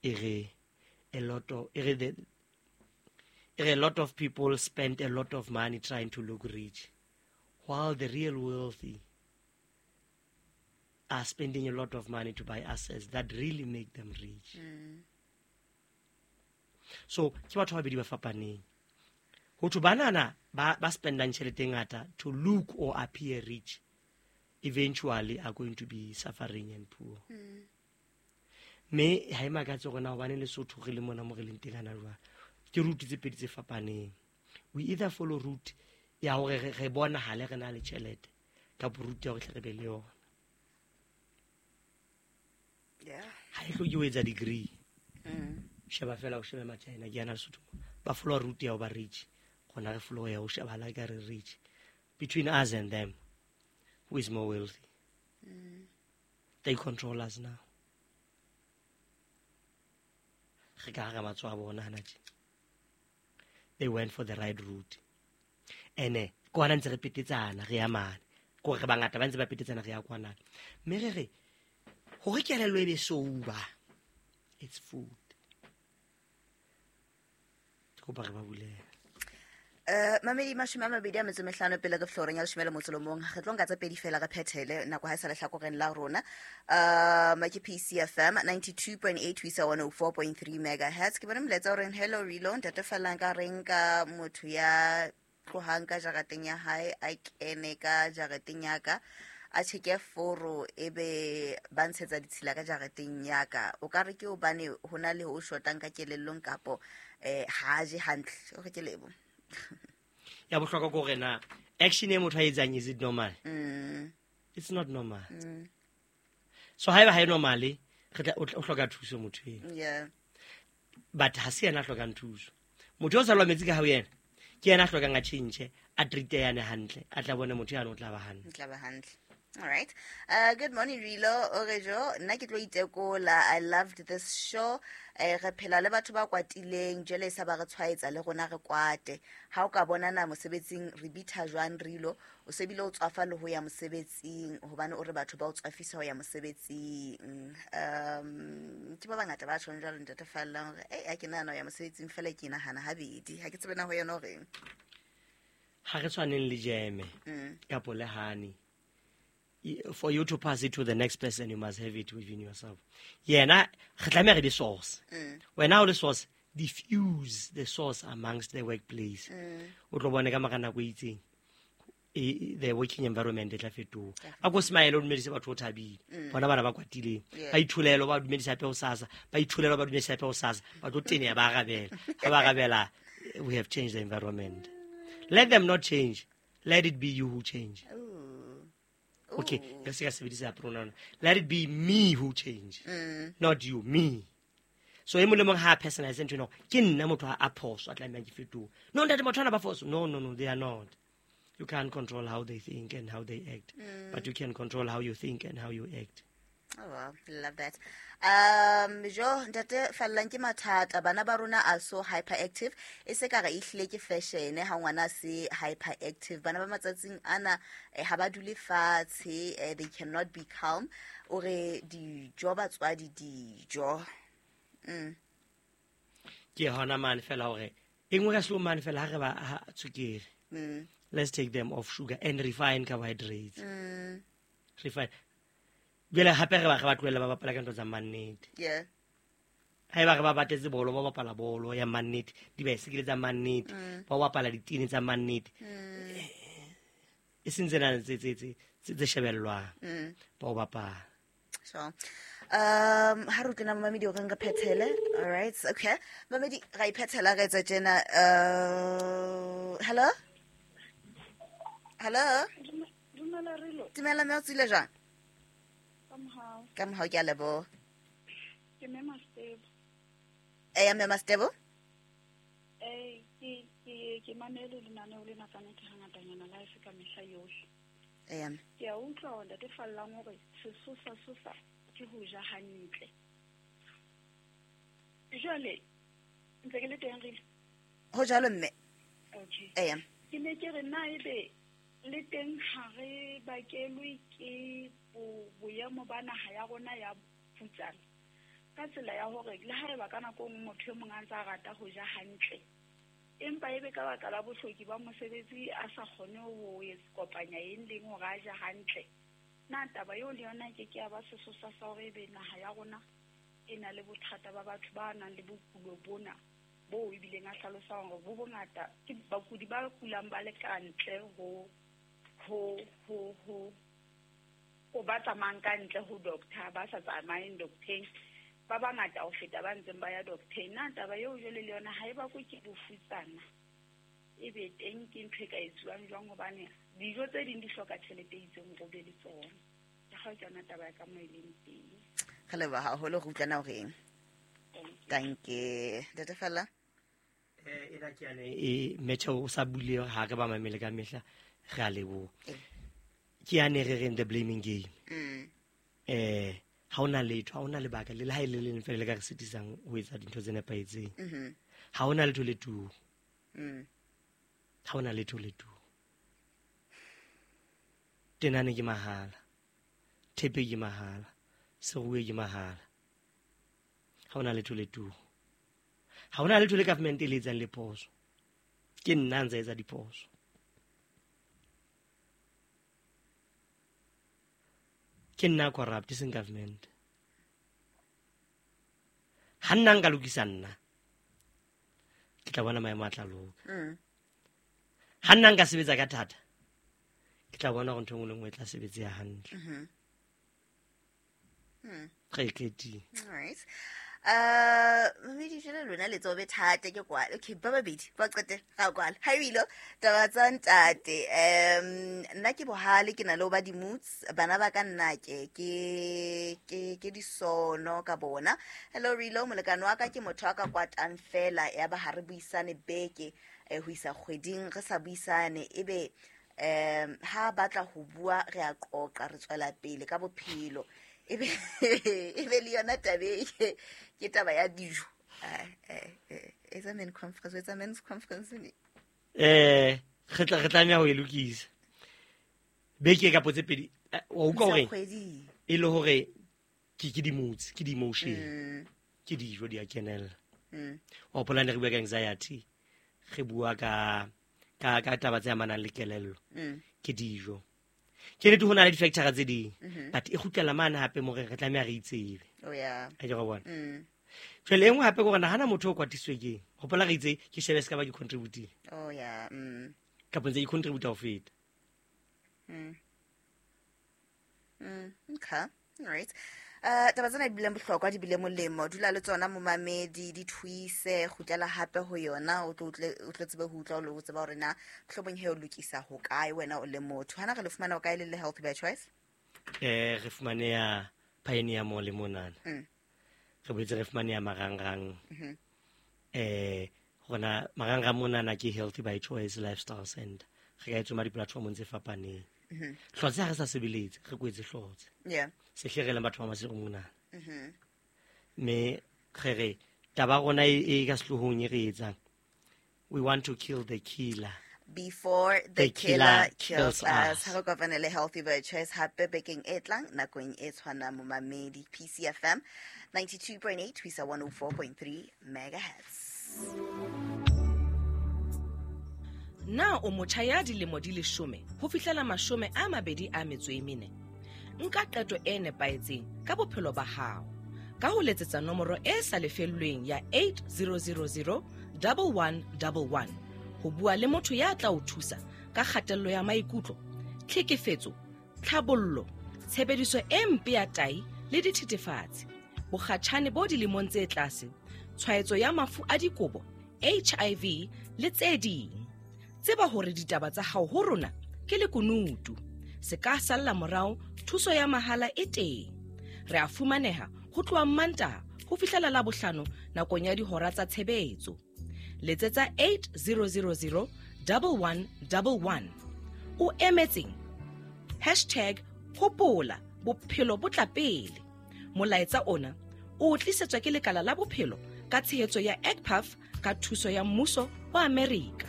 E re a lot of e re the e re a lot of people spend a lot of money trying to look rich, while the real wealthy are spending a lot of money to buy assets that really make them rich. So ke batho ba babedi ba fapaneng. Ho thwe banana ba spendang tjhelete e ngata to look or appear rich eventually are going to be suffering and poor. Mme ha e makatse hore na hobane Lesotho re le mona mo re leng teng hana jwale. Ke route tse pedi tse fapaneng. We either follow route ya hore re bonahale re na le tjhelete, kapa route ya hore tle re be le yona. Ha e hloke ho etsa degree. Sheba fela o shebe Machina ke yana Lesotho. Ba follow route ya ho ba rich. Rona re follow ya ho shebahala ka re rich. Between us and them, who is more wealthy? They control us now. Re ka hara matsoho a bona hana tje. They went for the right route. Ene kwana ntse re petetsana re ya mane. Ko re bangata ba ntse ba petetsana re ya kwana. Mme re re hore kelello e be sober, it's food. Ke kopa re ba bulele. Mamedi 25 pele re floreng ya leshome le motso le mong. Re tlo nka tse pedi fela re phethele nako ha e sa lehlakoreng la rona. Ke PCFM 92.8 ho isa 104.3 megahertz. Ke bone molaetsa o reng hello Rilo, ntate Fallang ka reng ka motho ya tlohang ka jarateng ya hae a kene ka jarateng ya ka, a tjheke foro ebe ba ntshetsa ditshila ka jarateng ya ka. O ka re ke hobane ho na le ho shotang ka kelellong kapo, ha je hantle. O re ke lebo. Ya bohlokwa ke hore na action e motho a etsang, is it normal? It's not normal. So haeba ha e normal, re tla, o hloka thuso motho eo. But ha se yena a hlokang thuso. Motho o sa lwa metsi ka hao yena, ke yena a hlokang a change, a treat yane hantle, a tla bone motho yane o tla ba hantle. O tla ba hantle. All right. Good morning, Rilo. Orejo, nna ke tlo itekola. I loved this show. Re phela le batho ba kwatileng, jwale sa ba re tshwaetsa le rona re kwate. Ha o ka bona na mosebetsing re bitha jwang Rilo, o se bile o tswafa le ho ya mosebetsing hobane o re batho ba o tswafisa ho ya mosebetsing. Ke ba bangata ba tjhong jwalo ntate Fallang hore, ha ke nahana ho ya mosebetsing fela ke nahana habedi. Ha ke tsebe na ho yena o reng. Ha re tshwaneng le jeme kapo le honey. For you to pass it to the next person, you must have it within yourself. Yena, re tlameha re be source. Wena o le source, diffuse the source amongst the workplace. O tlo bone ka mora nako e itseng, the working environment e tla fetoha. A ko smile, o dumedise batho o thabile. Bona bana ba kwatileng. Ba itholelo, ba dumedisa hape hosasa. Ba itholelo, ba dumedisa hape hosasa. Ba tlo teneha, ba arabela. Ha ba arabela, we have changed the environment. Let them not change. Let it be you who change. Ooh. Okay, Ooh. re se ka sebedisa pronoun. Let it be me who change. Not you, me. So e mong le mong ha a personalize ntho ena, ke nna motho a phoso, a tlamehang ke fetohe. No, ntate, motho ana ba phoso. No, no, no, they are not. You can't control how they think and how they act. But you can control how you think and how you act. Oh, wow. Love that. Jo, ntate Fallang ke mathata. Bana ba rona are so hyperactive. E se ka re ehlile ke fashion ha ngwana se hyperactive. Bana ba matsatsing ana, ha ba dule fatshe, they cannot be calm. O re dijo batswadi dijo. Ke hona mane fela hore e nngwe ka slow mane fela ha re ba ha tswekere. Let's take them off sugar and refine carbohydrates. Refine. Jwale hape re ba tlohella ba bapala ka ntho tsa mannete. Haeba re ba batletse bolo, ba bapala bolo ya mannete, dibaesekele tsa mannete, ba bapala ditene tsa mannete. E seng tsena tse shebellwang. Ba o bapala. Sure. Ha re utlwela mamedi o reng re phethele. All right, okay. Mamedi, ra iphethela re etsa tjena. Hello? Hello? Dumela Rilo. Dumela mme, o tswile jwang? Ka mohau. Ka mohau, ke a leboha. Ke mme Mastebo. Eya, mme Mastebo? Ke mamele lenaneo lena ka nnete hangatanyana la e se ka mehla yohle. Eya, mme. Ke a utlwa hore ntate Fallang hore sesosa sosa ke ho ja hantle. Jwale, ntse ke le teng Rilo? Ho jwalo, mme. Okay. Eya. Ke ne ke re na ebe le teng ha re bakelwe ke boemo ba naha ya rona ya phutsana. Ka tsela ya hore le haeba ka nako e nngwe motho e mong a ntse a rata ho ja hantle, empa ebe ka baka la bohloki ba mosebetsi a sa kgone ho kopanya eng leng hore a je hantle. Na taba eo le yona ke ke ya ba sesosa sa hore ebe naha ya rona e na le bothata ba batho ba nang le bokulo bona boo ebileng a hlalosa hore bo bongata ke bakudi ba kulang ba le ka ntle ho ho ho ho ho ba tsamayang ka ntle ho doctor, ba sa tsamayeng docteng, ba bangata ho feta ba ntseng ba ya docteng. Na taba eo jwale le yona ha e bakwe ke bofutsana, e be teng ke ntho e ka etsuwang jwang? Hobane dijo tse ding di hloka tjhelete e itseng hore o be le tsona. Ke ga ke yona taba ya ka mo e leng teng. Re leboha haholo, re utlwana hore eng. Danke. Ntate Fella. Ena ke yane e metjha o sa bule ha re ba mamele ka mehla, re a leboha. Ke yane re reng the blaming game. Ha hona letho, ha hona lebaka le ha e le leng fela le ka re sitisang ho etsa dintho tse nepahetseng. Ha hona letho le turu. Ha hona letho le turu. Tenane ke mahala, thepe ke mahala, seruwe ke mahala. Ha hona letho le turu. Ha hona letho le government e le etsang le phoso. Ke nna ntse etsa diphoso. Ke nna corrupt, seng government. Ha nna nka lokisa nna, ke tla bona maemo a tla loka. Ha nna nka sebetsa ka thata, ke tla bona hore ntho e nngwe le nngwe e tla sebetseha hantle. Re e qetile. All right. Mamedi jwale lona le tsobe thata ke kwala. Okay, ba babedi ba qete ga kwala. Ha ebile taba tsa ntate. Nna ke bohale, ke na le ho ba di-moods. Bana ba ka nna ke ke ke ke disono ka bona. Hello Rilo, molekane wa ka ke motho a ka kwatang fela ya ba ha re buisane beke ho isa kgweding re sa buisane, ebe ha batla ho bua re a qoqa, re tswela pele ka bophelo. Ebe ebe le yona tabe ke taba ya dijo. Etsa men conference, etsa men's conference ne. Re tlameha ho e lokisa. Beke ka potse pedi, wa utlwa hore e le hore ke di-moods, ke di-emotion, ke dijo di a kenella. Wa hopola ne re bua ka anxiety, re bua ka ka taba tse amanang le kelello, ke dijo. Ke nnete ho na le di-factor tse ding, but e kgutlela mane hape mo re tlameha re itsebe. Oh yeah. A ke go bona. Jwale e nngwe hape ke hore nahana motho o kwatisitswe keng. Hopola re itse ke shebe se ka ba ke contributile. Oh yeah. Kapa ntse ke contribute ho feta. Okay. All right. Taba tsena di bile bohlokwa, di bile molemo. Dula le tsona momamedi, di thuise, kgutlela hape ho yona, o tlo tsebe ho utlwa, o tseba hore na mohlomong he o lokisa ho kae wena o le motho. Hana re le fumana ho kae le le Healthy by Choice? Re fumaneha Pioneer Mall le monana. Re boetse re fumaneha Marangrang. Rona Marangrang monana ke Healthy by Choice Lifestyle Center. Re ka e tsoma di-platformong tse fapaneng. Hlotse ha re sa sebeletse, re kwetse hlotse. Yeah. Se hle re leng batho ba Maseru monana. Mme re re taba rona e ka sehlohong e re etsang, we want to kill the killer before the killer kills us. Ha re kopane le Healthy by Choice hape bekeng e tlang nakong e tshwanang momamedi. PCFM 92.8 ho isa 104.3 megahertz. Na o motjha ya dilemo di 10 ho fihlela 24? Nka qeto e nepahetseng ka bophelo ba hao ka ho letsetsa nomoro e sa lefellweng ya 8000 1111 ho bua le motho ya tla o thusa ka kgatello ya maikutlo, tlhekefetso, tlhabollo, tshebediso e mpe ya tai le dithethefatsi, bokgatjhane bo dilemong tse tlase, tshwaetso ya mafu a dikobo, HIV le tse ding. Tseba hore ditaba tsa hao ho rona ke lekunutu. Se ka salla morao, thuso ya mahala e teng. Re a fumaneha ho tloha Mantaha ho fihlela Labohlano nakong ya dihora tsa tshebetso. Letsetsa 8000 1111. O emetseng? Hashtag hopola bophelo bo tla pele. Molaetsa ona o tlisetswa ke lekala la bophelo ka tshehetso ya ECPAF ka thuso ya mmuso wa Amerika.